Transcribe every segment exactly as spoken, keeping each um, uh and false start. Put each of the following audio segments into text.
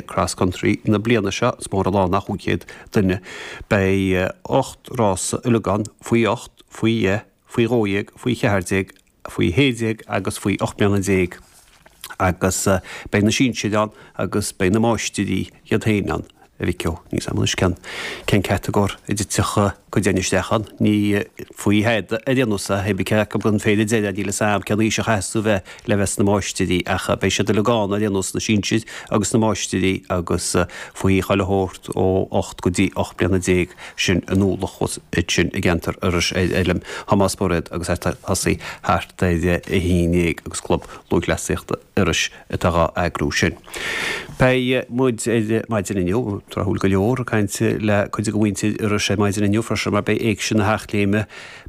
Cross Country na bliana seo, is mór an lá nach cúig chéad duine. Beidh ocht rása uilig ann, faoi ocht, faoi dheich, faoi dhó dhéag, faoi cheathair déag, faoi shé déag agus faoi ocht mbliana déag. Agus beidh na sinsir ann agus beidh na máistirí iad féin ann. A mhic ó, níl 's a'm anois cén cén catagóir a dtitfeadh cuid againn isteach ann. Ní faoi thada ar aon nós é, hé bith cé acu den phéire deireadh, níl 'fhios a'm cén aois a chaithfeas tú bheith le bheith sna máistirí ach beidh siad uilig ann ar aon nós, na sinsir agus na máistirí agus faoi chuile shórt ó ocht go dtí ocht mbliana déag sin in Uallach thuas ansin i gceantar Iorrais ar Fheilm Thomás Bairéad agus é ag tosaí thart ar a haon déag agus Club Lúthchleasaíochta Iorrais atá dhá eagrú sin. Beidh muid ar maidin inniu, tráthúil go leor, ag caint le cuid de mhuintir Iorrais ar maidin inniu freisin mar beidh Éigse na hEachléime,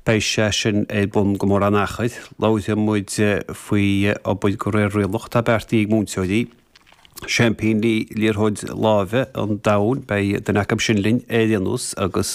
beidh sé sin ar bun go mórán achair. Labharfaidh muid faoi obair de réir rialach atá beartaithe ag múinteoirí. Seaimpíní liathróid láimhe an domhain, beidh duine acu sin linn ar aon nós agus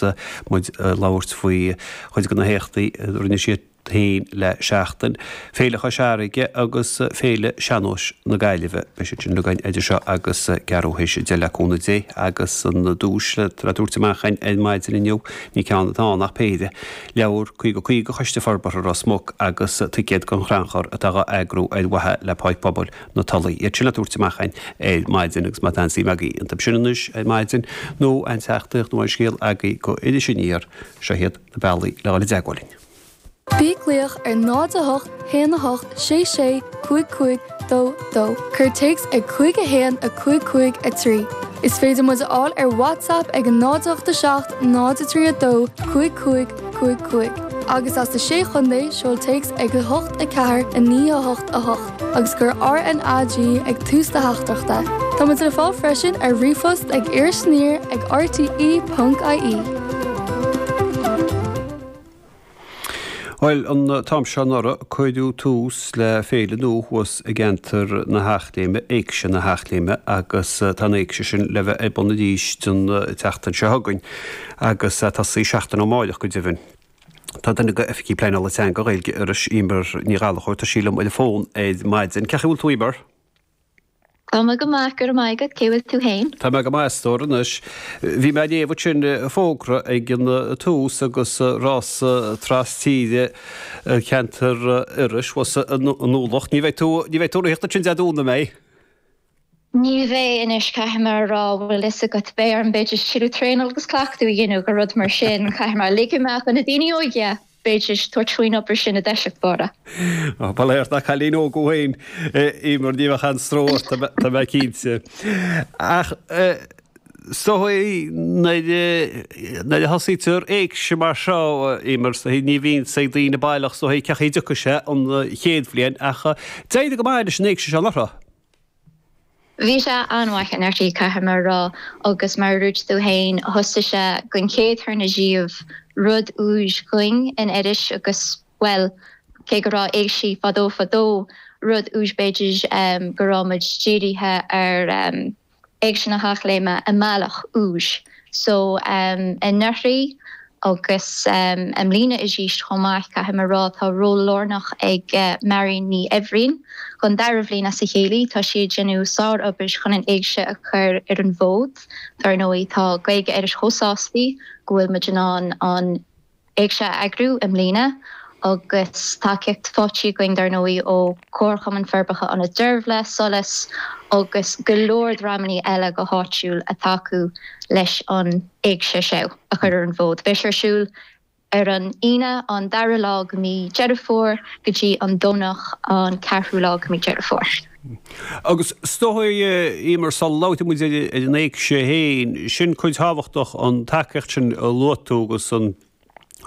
muid ag labhairt faoi chuid de na héachtaí a rinne siad féin le seachtain, Féile Chois Fharraige agus Féile Sean-Nóis na Gaillimhe. Beidh siad sin againn idir seo agus ceathrú théis a deich le cúnamh Dé agus an duais le tabhairt amach againn ar maidin inniu, ní ceann atá ann ach péire, leabhar caoga caoga Choiste Forbartha Ros Muc agus ticéad don chrannchur atá á eagrú ar mhaithe le Páirc Pobail na Tulaí. Iad sin le tabhairt amach againn ar maidin agus má tá aon suim agaibh iontu sin anois ar maidin nó aon teachtaireacht nó aon scéal agaibh go Iris Aniar, seo iad na bealaí le dhul i dteagmháil linn. Bí ag glaoch ar náid a hocht, haon a hocht, sé sé, cúig cúig, dó dó. Cuir téacs ag cúig a haon, a cúig cúig, a trí. Is féidir muid a fháil ar WhatsApp ag a náid a hocht a seacht, náid a trí a dó, cúig cúig, cúig cúig. Agus as na Sé Chontae, seol téacs ag a hocht a ceathair, a naoi a hocht a hocht agus cuir R N A G ag tús do theachtaireachta. Tá muid le fáil freisin ar ríomhphost ag irisaniar ag R T E ponc I E. Bhuel, an t-am seo anuraidh, cuireadh tús le féile nua thuas i gceantar na hEachléime, Éigse na hEachléime, agus tá an éigse sin le bheith ar bun arís an tseachtain seo chugainn, agus tosaí seachtain ó amárach go deimhin. Tá duine de Oifigigh Pleanála Teanga Ghaeilge Iorrais, Emer Ní Ghallchóir, tá sí liom ar an bhfón ar maidin. Cén chaoi a bhfuil tú, Emer? Tá mé go maith, go raibh maith agat, cé bhfuil tú féin? Tá mé go maith, a stór anois. Bhí mé ag léamh ansin fógra ag an tús agus rása tras tíre cheantar Iorrais thuas in Uallach. Ní bheidh tú ní bheidh tú ag ritheacht ansin Dé Domhnaigh, an mbeidh? Ní bheidh anois, caithfidh mé a rá, bhfuil fhios agat, beidh orm b'fhéidir tuilleadh traenáil agus cleachtadh a dhéanamh go rud mar sin, caithfidh mé ligean amach do na daoine óige b'fhéidir tabhairt faoin obair sin i dtoiseach báire. Ba léir nach cailín óg thú féin, Emer, ní bheadh aon stró ort, tá mé cinnte. Ach is dóigh nuair a thosaítear éigse mar seo, Emer, ní bhíonn fhios ag daoine baileach is dóigh cén chaoi a dtiocfaidh sé an chéad bhliain ach d'éirigh go maith leis an éigse seo anuraidh. Bhí sé an-mhaith anuraidh, caithfidh mé a rá, agus mar a dúirt tú féin, thosaigh sé den chéad tuairne díobh rud úr dhúinn in Iorras agus, bhuel, cé go raibh éigsí fadó fadó, rud úr b'fhéidir go raibh muid dírithe ar Éigse na hEachléime i mbealach úr. So anuraidh agus i mbliana arís chomh maith, caithfidh mé a rá, tá ról lárnach ag Marion Ní Eibhrín don dara bhliain as a chéile. Tá sí ag déanamh sárobair chun an éigse a chur ar an bhfód. Dar ndóigh, tá Gaeilge Iorrais chomh sásta go bhfuil muid in ann an éigse a eagrú i mbliana agus tacaíocht faighte againn dar ndóigh ó Chomharchumann Forbartha Ionad Deirbhile, Solas agus go leor dreamanna eile go háitiúil ag tacú leis an éigse seo a chur ar an bhfód. Beidh sé ar siúl ar an Aoine an dara lá de mí Deireadh Fómhair go dtí an Domhnach an ceathrú lá de mí Deireadh Fómhair. Agus is dóigh, Emer, sula labhraíonn muid ar an éigse féin, sin cuid thábhachtach an tacaíocht sin a luaigh tú agus an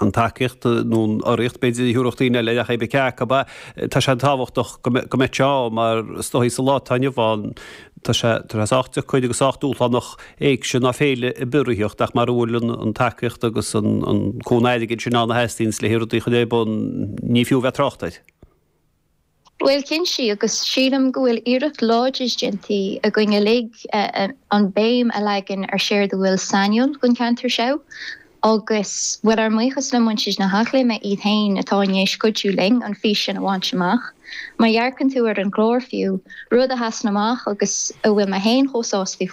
an tacaíocht nó an urraíocht b'fhéidir a thabharfadh daoine eile ach pé cé acu é, tá sé tábhachtach go mbeadh sé ann mar is dóigh sa lá atá inniu ann tá sé tá sé sách deacair agus sách dúshlánach éigse ná féile ar bith a ritheacht ach mara bhfuil an an tacaíocht agus an an cúnamh airgid sin ann a theastaíonns le rudaí a chur ar bun ní fiú bheith trácht air. Bhuel cinnte agus sílim go bhfuil iarracht láidir déanta againn uilig an béim a leagan ar séard a bhfuil sainiúil don cheantar seo agus bhfuil ár mbuíochas le muintir na hEachléime iad féin atá i ndiaidh cuidiú linn an fís sin a bhaint amach. Má dhearcann tú ar an gclár fiú, rud a sheasann amach agus a bhfuil mé féin chomh sásta